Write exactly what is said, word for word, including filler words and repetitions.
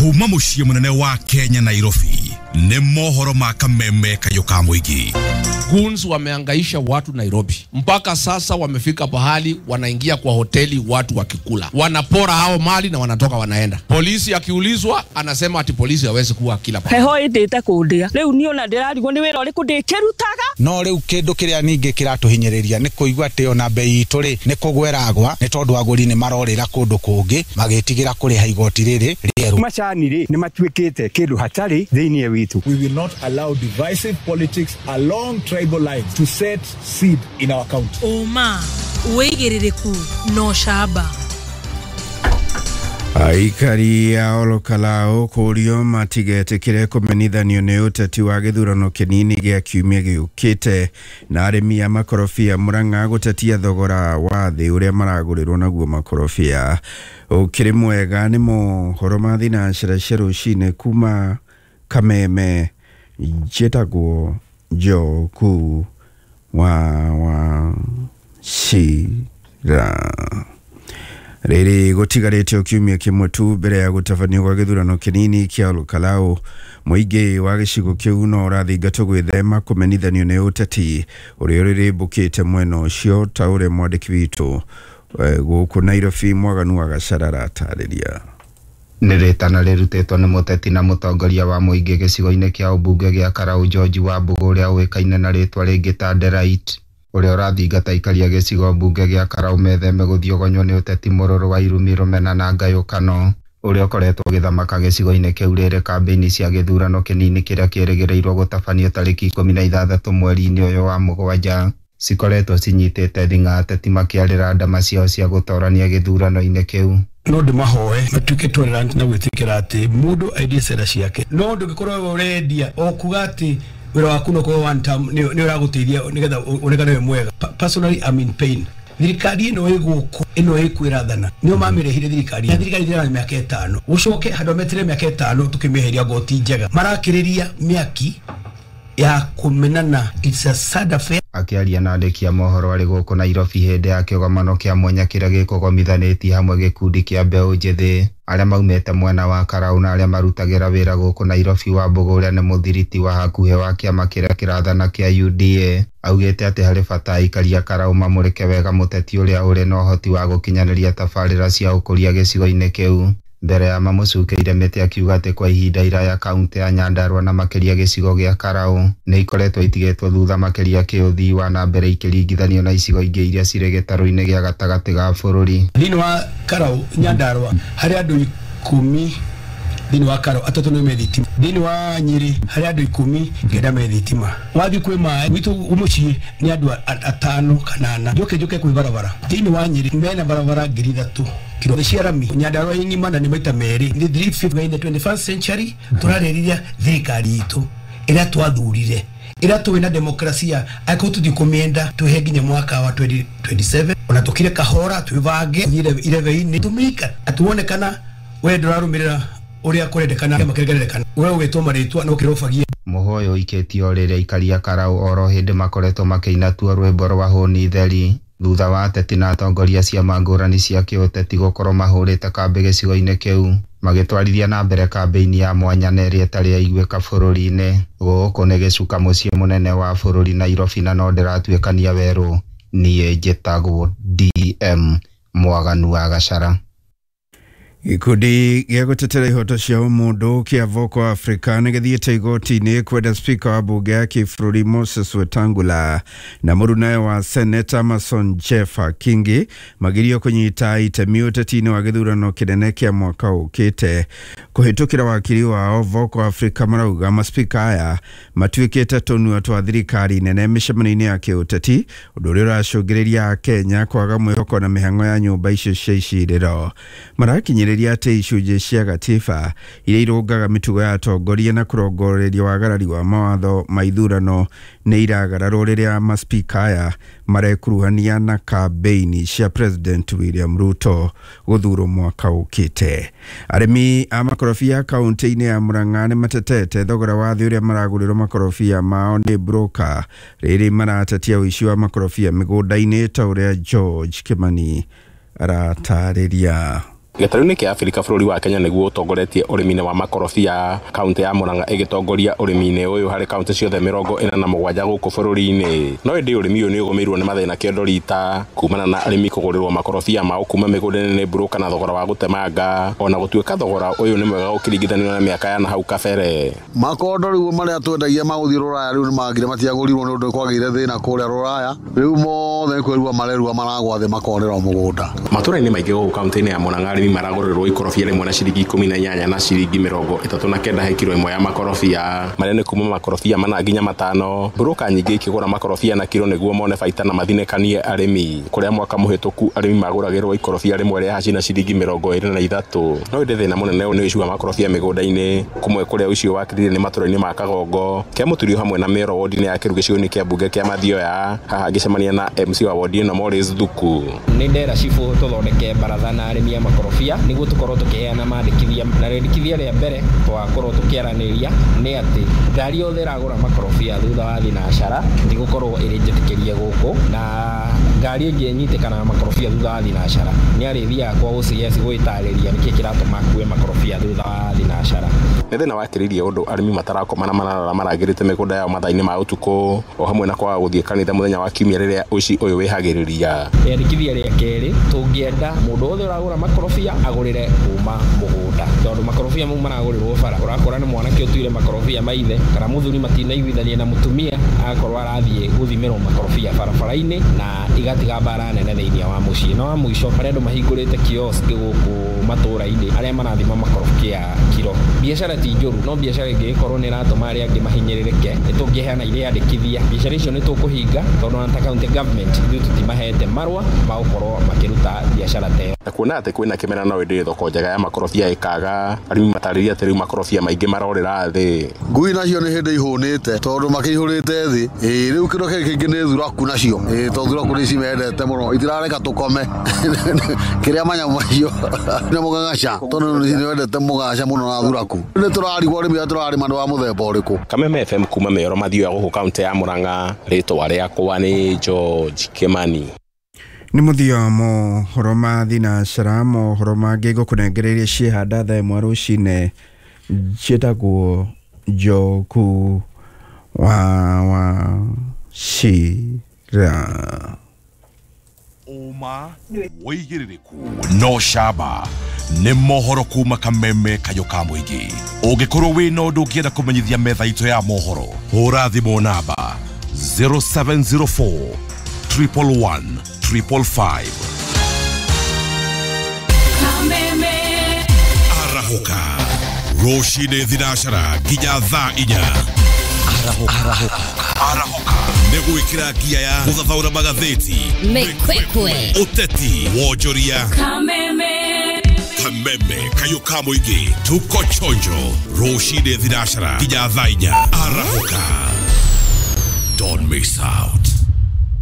Kuma muciĩ munene wa Kenya Nairobi nĩ mohoro ma kameme kayo ka mũingĩ. Goons wameangaisha watu Nairobi mpaka sasa wamefika pahali wanaingia kwa hoteli watu wakikula, wanapora hao mali na wanatoka wanaenda. Polisi akiulizwa anasema ati polisi hawezi kuwa kila pahali. Heho indite kundia riu ni ona ndirarigwo ni wira uriku ndikirutaga. No riu kindu kiria ningi kiratuhinyiriria ni kuigua ati ona bei itu ri ni kugweragwa ni tondu aguri ni marorira kundu kungi magitigira kuriha igoti riri rieru. Macani ri ni matuikite kindu hatari thiini witu. We will not allow divisive politics along tribal lines to set seed in our county. Uma wigiririku no shaba. Aikari a Olokalao kũũrio matigetĩkĩre kũmenithanio nĩ ũteti wa gĩthurano kĩnini gĩa kiumia gĩũkĩte na arĩmi a makorobia Murang'a gũtetia thogora wa thĩ ũrĩa maragũrĩrwo naguo makorobia. Ũkĩrĩ mwega nĩ mohoro ma thinacara cia rũcinĩ kuma Kameme. Njĩtagwo Njoku wa Wachira. Rĩrĩ gũtigarĩte o kiumia kĩmwe tu mbere ya gũtabanio gwa gĩthurano kĩnini kĩa Olokalao, mũingĩ wa gĩcigo kĩu no ũrathingatwo gwĩthema kũmenithanio nĩ ũteti ũrĩa ũrĩrĩmbũkĩte mwena ũcio ta ũrĩa mwandĩki witũ gũkũ Nairobi Mwaganu wa Gachara aratarĩria. Nĩ rĩtana rĩrutĩtwo nĩ mũteti na mũtongoria wa mũingĩ gĩcigo-inĩ kĩa ũmbunge gĩa Karau George Wambugu ũrĩa ũĩkaine na rĩtwa rĩngĩ ta Delight, ũrĩa ũrathingata aikaria gĩcigo mbunge gĩa Karau metheme gũthiogonywo nĩ ũteti mũrũrũ wa irumi, rũmena na ngayũkano ũrĩa ũkoretwo ũgĩthamaka gĩcigo-inĩ kĩu rĩrĩ kambĩini cia gĩthurano kĩnini kĩrĩa kĩrĩgĩrĩirwo gũtabanio tarĩki ikũmi na ithathatũ mweri-inĩ ũyũ wa mũgwanja. Cikoretwo cinyitĩte thing'a ateti makĩarĩra ndama ciao cia gũtorania gĩthurano-inĩ kĩu. No ndimahoe matuike tolerant na gwitikira ati mundu aidie cera ciake, no ndungikorwo urendia o kuga ati wira waku no korwo one term ni uraguteithia nigetha onekane wi mwega. Personally, I'm in pain. Thirikari ino iguku ino ikwirathana nio mamirehire thirikari na thirikari thira miaka itano ucoke handu metere miaka itano tukimiheria goti njega marakiriria miaki ya kumenana. It's a sad affair. Akiaria na andĩki a mohoro arĩ gũkũ Nairobi hĩndĩ ya kĩgomano kĩa mwanya kĩrĩa gĩkũgomithanĩtie hamwe gĩkundi kĩa mbeũ njĩthĩ arĩa maumĩte mwena wa Karau na arĩa marutagĩra wĩra gũkũ Nairobi, Wambugu ũrĩa nĩ mũthiriti wa hakuhĩ wa kĩama kĩrĩa kĩrathana kĩa U D A augĩte atĩ harĩ bata aikari a Karau mamũrĩke wega mũteti ũrĩa ũrĩ na ũhoti wa gũkinyanĩria tabarĩra cia ũkũria gĩcigo-inĩ kĩu. Mbere ya mamũcukĩire mĩtĩ akiuga atĩ kwa ihinda iraya kaunti ya Nyandarua na makĩria gĩcigo gĩa Karau nĩ ikoretwo itigĩtwo thutha makĩria kĩũthii wa na mbere ikĩringithanio na icigo ingĩ iria cirĩ gĩtarũ-inĩ gĩa gatagatĩ ga bũrũri. Thĩinĩ wa Karau Nyandarua harĩ andũ ikũmi, thĩinĩ wa Karau atatũ nĩ me thitima, thĩinĩ wa Nyĩrĩ harĩ andũ ikũmi kenda me thitima, wathiĩ kwĩ maĩ gwitũ mũciĩ nĩ andũ atano kana ana, njoke njoke kwĩ barabara thĩinĩ wa Nyĩrĩ mena barabara ngiri ithatũ kiro cia rami. Nyandarua ng'ima na nĩ maita merĩ nĩ three fifty in the twenty-first century. Turarĩrĩria thirikari itũ ĩrĩa twathurire ĩrĩa tũĩ na demokrasia angĩkorwo tũtikũmĩenda tũhe nginya mwaka wa twenty twenty-seven ona tũkire kahora twĩbange irebe-inĩ tũmĩika atuone kana we ndũrarũmĩrĩra ũrĩa kũrendekana kĩama kĩrĩa kĩrendekana we ũgĩtwo marĩtwa na ũkĩrobagia. Mũhoyo ũikĩtio rĩrĩa aikari a Karau oro hĩndĩ makoretwo makĩina tuo rwĩmbo rwa hũni theri thutha wa ateti na atongoria ciama ngũrani cia kĩũteti gũkorwo mahũrĩte kambĩ gĩcigo-inĩ kĩu magĩtwarithia na mbere kambĩini ya mwanya na ĩrĩa ĩtarĩ yaiguĩka bũrũri-inĩ. Gũkũ nĩ gĩcuka mũciĩ mũnene wa bũrũri Nairobi na no ndĩratuĩkania werũ. Niĩ njĩtagwo D M Mwaganu wa Gachara. Gĩkundi gĩa gũtetera ihoto cia ũmũndũ kĩa Vocal Africa nĩ gĩthiĩte igoti-inĩ kwenda spika wa bunge ya kĩbũrũri Moses Wetangula na mũrunawe wa Seneta Amason Jeffa Kingi magirio kũnyita itemi ũteti-inĩ wa gĩthurano kĩnene kĩa mwaka ũkĩte. Kũhĩtũkĩra wakiri wao Vocal Africa marauga maspika aya matuĩkĩte tũnua twa thirikari nene mĩcemanio-inĩ ya kĩũteti, ũndũ ũrĩa ũracũngĩrĩria Kenya kwaga mwĩhoko na mĩhang'o ya nyũmba icio cia icirĩro. Marakinyĩrĩria atĩ icunjĩ cia gatiba iria irũngaga mĩtugo ya atongoria na kũrongoreria wagarari wa mawatho ma ithurano nĩ iragararwo rĩrĩa maspika aya marekuruhania na kambĩini cia President William Ruto gũthurwo mwaka ũkĩte. Arĩmi a makorobia kaunti-inĩ ya Murang'a nĩ matetete thogora wa thĩ ũrĩa maragũrĩrwo makorobia mao nĩ broker rĩrĩ maratetia ũici wa makorobia mĩgũnda-inĩ ta ũrĩa George Kimani aratarĩria. Gĩtarũ-inĩ kĩa Afrika bũrũri wa Kenya nĩguo ũtongoretie ũrĩmi-inĩ wa makorobia, kaunti ya Murang'a ĩgĩtongoria ũrĩmi-inĩ ũyũ harĩ kaunti ciothe mĩrongo ĩna na mũgwanja gũkũ bũrũri-inĩ. No ĩndĩ ũrĩmi ũyũ nĩ ũgũmĩirwo nĩ mathĩna kĩondo rita kumana na arĩmi kũgũrĩrwo makorobia mao kuma mĩgũnda-inĩ nĩ mburũka na thogora wa gũtemanga, ona gũtuĩka thogora ũyũ nĩ mwega ũkĩringithanio na mĩaka ya na hau kabere. Makondo rĩu marĩa twendagia magũthiĩ Rũraya rĩu nĩmagire matiagũrirwo nĩ ũndũ kwagĩire thĩna kũrĩa Rũraya, rĩu mothe nĩ kwĩrua marerua maragwa thĩ makorera mũgũnda. Matũra-inĩ maingĩ gũkũ kaunti-inĩ ya Murang'a arĩmi maragũrĩrwo ikorobia rĩmwe na ciringi ikũmi na inyanya na ciringi mĩrongo ĩtatũ na kenda he kiro ĩmwe ya makorobia, marĩa nĩ kuma makorobia mana nginya matano. Mburũka nyingĩ ikĩgũra makorobia na kiro nĩguo mone baita na mathinĩkanie arĩmi, kũrĩa mwaka mũhĩtũku arĩmi magũragĩrwo ikorobia rĩmwe rĩa haci na ciringi mĩrongo ĩrĩ na ithatũ. No ĩndĩ thĩna mũnene nĩ ũici wa makorobia mĩgũnda-inĩ, kũmwe kũrĩa ũici wakĩrire nĩ matũra-inĩ ma Kagongo, Kĩamũturio hamwe na Mĩoro wodi-inĩ ya Kĩru gĩcigo-inĩ kĩa mbunge kĩa Mathioya. Haha ngĩcemania na M C wa wodi ĩno Morris Thuku. Nĩ ndera cibũ tũthondeke baratha na arĩmi a makorobia nĩguo tũkorwo tũkĩheana mandĩkithia, na rĩndĩkithia rĩa mbere twakorwo tũkĩaranĩria nĩ atĩ ngari yothe ĩragũra makorobia thutha wa thinacara ndĩgũkorwo ĩrĩ njĩtĩkĩrie gũkũ, na ngari ĩngĩ ĩnyitĩkana na makorobia thutha wa thinacara nĩ arĩthiaga kwa O C S gwĩtarĩria nĩkĩ kĩratũma akue makorobia thutha wa thinacara. Nĩ thĩna wakĩrĩirie ũndũ arĩmi matarakoma na mararara marangĩrĩte mĩgũnda yao mathaa-inĩ ma ũtukũ, o hamwe na kwaga gũthiĩ kanitha mũthenya wa kiumia rĩrĩa ũici ũyũ wĩhagĩrĩria. Rĩandĩkithia rĩa kerĩ, tũngĩenda mũndũ wothe ũragũra makorobia agũrĩre kuma mũgũnda, tondũ makorobia mau maragũrĩrwo bara, ũrakora nĩ mwanake ũtuire makorobia maithe kana mũthuri matinaiguithania na mũtumia agakorwo arathiĩ gũthimĩrwo makorobia barabara-inĩ na igatiga mbara nene thĩinĩ wa mũciĩ. Na wa mũico, harĩa andũ mahingũrĩte kiosk gũkũ matũra-inĩ arĩa marathima makorobia kiro, biacara ti njũru, no biacara ĩngĩgĩkorwo nĩ ĩratũma arĩa angĩ mahinyĩrĩrĩke nĩ tũngĩheana irĩandĩkithia biacara icio nĩ tũkũhinga, tondũ ona ta county government ithuĩ tũtimahete marũa ma gũkorwo makĩruta biacara ta ĩyo. Na kuona atĩ kwĩna kĩmera no ĩndĩ thoko njega ya makorobia ĩkaga, arĩmi matarĩria atĩ rĩu makorobia maingĩ marorĩra thĩ. Ngui nacio nĩ hĩndĩ ihũnĩte tondũ makĩihũrĩte thĩ, ĩĩ rĩu kĩndũ kĩngĩ kĩngĩ nĩ thuraku nacio, ĩĩ tondũ thuraku nĩ cimendete mũno itirareka tũkome kĩrĩa manyamũ macio nĩ mũgagaca tondũ nĩ wendete mũgagaca mũno na thuraku. Nĩ tũrarigwo arĩmi arĩa tũrarĩma nĩ wa mũthemba ũrĩkũ. Kameme F M kuma Mĩoro Mathioya gũkũ kaunti ya Murang'a, rĩtwa rĩakwa nĩ George Kimani. Nĩ mũthia wa mohoro ma thinacara, mohoro mangĩ ngũkũnengereire ciĩhanda thaa ĩmwe rũcinĩ, njĩtagwo Njoku wa Wachira. Ũma wĩigĩrĩrĩku no camba nĩ mohoro kuma Kameme kayũ ka mũingĩ. Ũngĩkorwo wĩna ũndũ ũngĩenda kũmenyithia metha itũ ya mohoro, hũra thimũ namba zero seven zero four triple one triple five. Kameme arahũka rũcinĩ thinacara nginya thaa inya. Arahũka arahũka nĩ gwĩkĩra ngia ya gũthathaũra magathĩti, mĩkwekwe, ũteti, wonjoria. Kameme Kameme kayũ ka mũingĩ, tuko chonjo rũcinĩ thinacara nginya thaa inya. Arahũka, don't miss out.